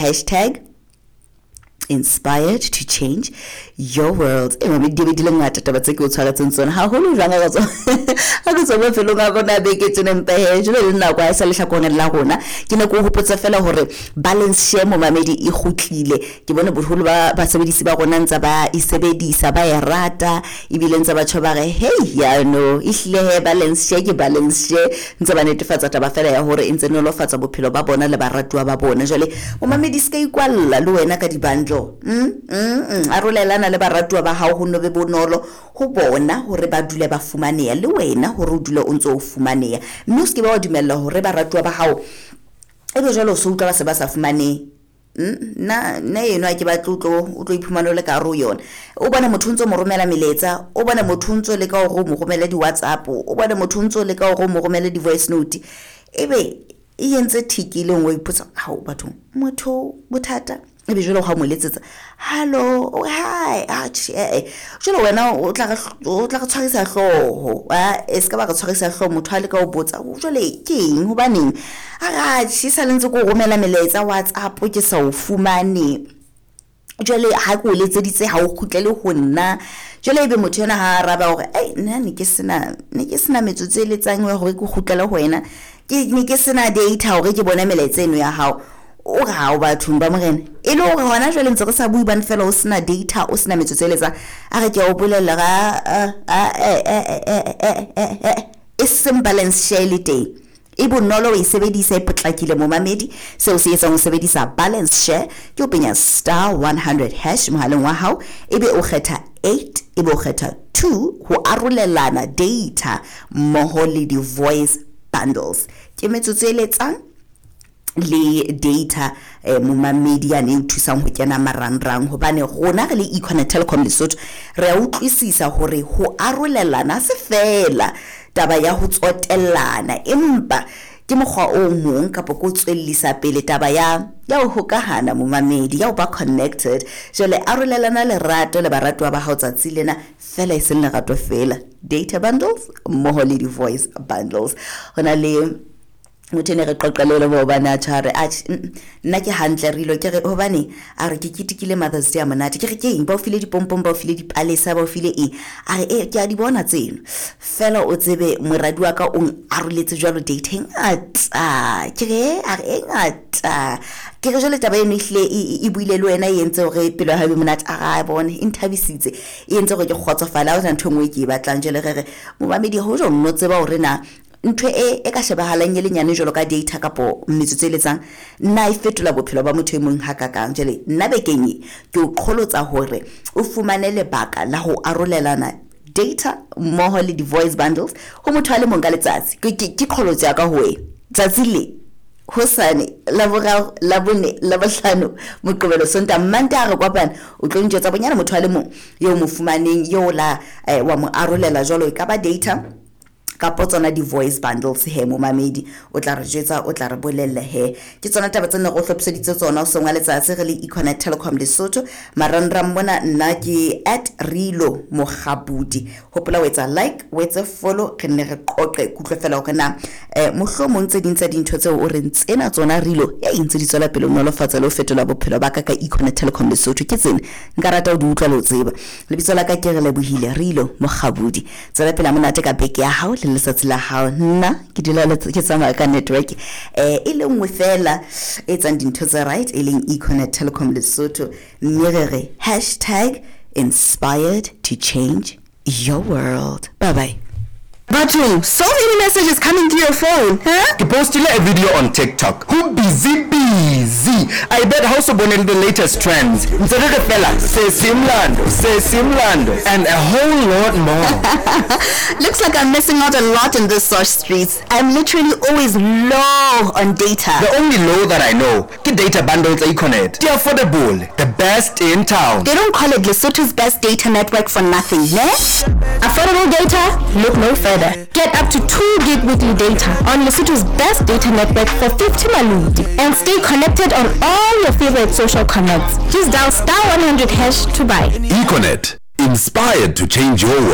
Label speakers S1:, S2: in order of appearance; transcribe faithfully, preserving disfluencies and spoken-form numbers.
S1: Hashtag inspired to change your world. E mame di be di le ngata taba tse ke o tshwaretseng tsona haholo jwang ha ke tswa mafelong a rona a beke tsena, empa he jwale le nako ha e sa lehlakoreng la rona. Ke ne ke o hopotsa fela hore balance share, momamedi, e kgutlile. Ke bone boholo ba basebedisi ba rona ntse ba e sebedisa, ba e rata, ebile ntse batho ba re, "Hey, yano ehlile he balance share ke balance share." Ntse ba netefatsa taba fela ya hore e ntse nolofatsa bophelo ba bona le baratuwa ba bona. Jwale momamedi, se ka ikwalla le wena ka di-bundle. mm, mm, mm. Arolelana le baratuwa ba hao, ho no be bonolo ho bona hore ba dule ba fumaneha, le wena hore o dule o ntse o fumaneha, mme o se ke ba wa dumella hore baratuwa ba hao ebe jwale o se utlwa ba se ba sa fumanehe. nna nna eno ha ke batle o tlo o tlo iphumana o le ka hare ho yona. O bone motho o ntso mo romela melaetsa, o bone motho o ntso leka hore o mo romele di-WhatsApp, o bone motho o ntso leka hore o mo romele di-voice note, ebe e entse tick e le nngwe. O ipotsa, "Hao bathong, motho bothata?" Ebe jwale ha o mo letsetsa, "Hallo, hi." Atjhe, eh jwale wena o tla re o tla re tshwarisa hlooho. A e se ka ba re tshwarisa hlooho. Motho a leka ho botsa, "Jwale ke eng, hobaneng?" A re, "Atjhe, sa le ntse ke o romela melaetsa WhatsApp, ke sa o fumane. Jwale ha ke o letseditse, ha o kgutlele ho nna." Jwale ebe motho ena ha araba hore, "Ei, nna ne ke sena ne ke sena metsotso e letsang ya hore ke kgutlele ho wena, ke ne ke sena data hore ke bone melaetsa eno ya hao." O re, "Hao bathong ba morena, e le hore hona jwale ntse re sa bue bane fela o sena data, o sena metsotso e letsang." A re, "Ke a o bolella ga e seng balance share le teng, e bonolo o e sebedisa, e potlakile." Momamedi, seo se etsang ho sebedisa balance share ke o penya star one hundred hash mohaleng wa hao, ebe o kgetha eight, ebe o kgetha two ho arolelana data mmoho le di-voice bundles. Ke metsotso e letsang le data, eh, momamedi, yane e o thusang ho kena marangrang, hobane rona re le Econet Telecom Lesotho re a utlwisisa hore ho arolelana se fela taba ya ho tsotellana, empa ke mokgwa o mong kapa ko tswellisa pele taba ya ya ho hokahana, momamedi, ya ho ba connected. Jwale arolelana lerato le baratuwa ba hao tsatsi lena fela, e seng lerato fela, data bundles mmoho le di-voice bundles. Ho na le motho ne re qoqele le maobane, a tjho, a re, "Atjhe, nna ke hantle re ilo." Ke re, "Hobane?" A re, "Ke ketekile Mother's Day a monate." Ke re, "Ke eng? Ba o file dipompong, ba o file dipalesa, ba o file eng?" A re, "E, ke a di bona tseno fela, o tsebe moradi wa ka o aroletse jwalo data e ngata." Ke re, a re, "E ngata." Ke re, "Jwale taba eno ehlile e buile le wena, e entse hore pelo ya hao e be monate?" A re, "Bone e nthabisitse, e entse hore ke kgotsofale, ha hona ntho e nngwe e ke e batlang." Jwale re re, momamedi, ho jo nno tseba hore na ntho e e ka shebahalang e le nyane jwalo ka data kapo metsotso e letsang nna e fetola bophelo ba motho e mong hakakang. Jwale nna bekeng e ke o qholotsa hore o fumane lebaka la ho arolelana data mmoho le di-voice bundles ho motho a le mong ka letsatsi. Ke qholotso ya ka ho wena tsatsi le hosane, Laboraro, Labone, Labohlano, Moqebelo, Sontaha, Mantaha re kopana, o tlo ntjwetsa bonyane motho a le mong eo mo fumaneng eo la eh, wa mo arolela jwalo, e ka ba data kapo tsona di-voice bundles. He momamedi, o tla re jwetsa, o tla re bolella. He ke tsona taba tse ne re o hlophiseditse tsona o seng wa letsatsi re le Econet Telecom Lesotho. Marangrang mona nna ke at Rilo Mokgabudi. Hopola o etsa like, o etse follow, re nne re qoqe kutlwe fela hore na um mohlomong tse ding tsa dintho tseo o reng tsena tsona Rilo ya ntse di tswela pele o nolofatsa le ho fetola bophelo ba ka ka Econet Telecom Lesotho ke tsena, nka rata ho di utlwa le ho tseba. Lebitso la ka ke re Lebohile Rilo Mokgabudi. Tswela pele monate ka beke ya hao le letsatsi la hao. Nna ke dula ke tsamaya ka network eh e le nngwe fela e etsang dintho tse right, e leng Econet Telecom Lesotho, mme re re hashtag inspired to change your world. Bye bye.
S2: Bathong, so many messages coming through your phone, huh?
S3: Ke postile a video on TikTok. Ho busy busy. I bet ha o so bone the latest trends. Ntse re re fela se simlando, se simlando and a whole lot more.
S2: Looks like I'm missing out a lot in the source streets. I'm literally always low on data.
S3: The only low that I know ke data bundles tsa Econet. Di affordable, the best in town.
S2: They don't call it Lesotho's best data network for nothing, ne? Affordable data? Look no further.
S4: Get up to two gig weekly data on Lesotho's best data network for fifty maloti and stay connected on all your favorite social connects. Just dial star one hundred hash to buy.
S5: Econet, inspired to change your world.